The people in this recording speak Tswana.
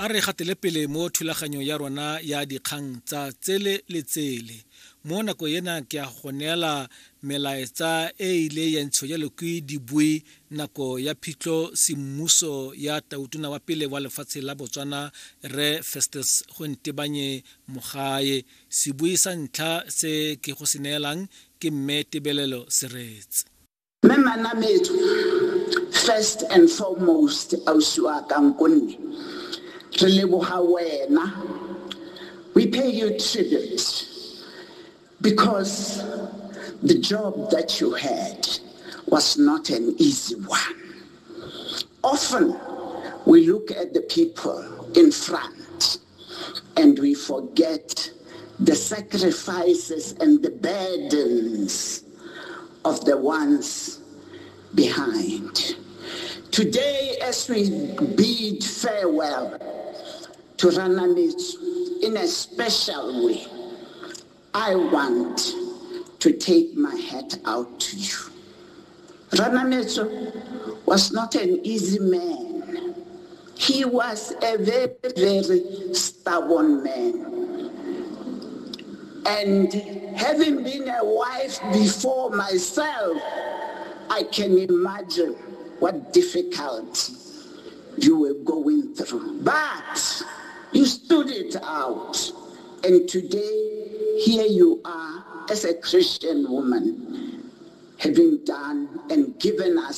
A re gatele pele mo thulaganyong ya rona ya dikgang tsa tsele le tsele. Mo nako ena ke a go neela melaetsa e ile ya ntsho jalo ke dibui nako ya phitlho semmuso ya tautona wa pele wa lefatshe la Botswana, Rre Festus Gontebanye Mogae. Sebui sa ntlha se ke go se neelang ke Mme Tebelelo Seretse. Mme Manametso, first and foremost, ausi wa ka nkonne, re leboga wena. We pay you tribute because the job that you had was not an easy one. Often we look at the people in front and we forget the sacrifices and the burdens of the ones behind. Today, as we bid farewell to Ranametso in a special way, I want to take my hat out to you. Ranametso was not an easy man. He was a very, very stubborn man. And having been a wife before myself, I can imagine what difficulty you were going through. But you stood it out. And today, here you are as a Christian woman, having done and given us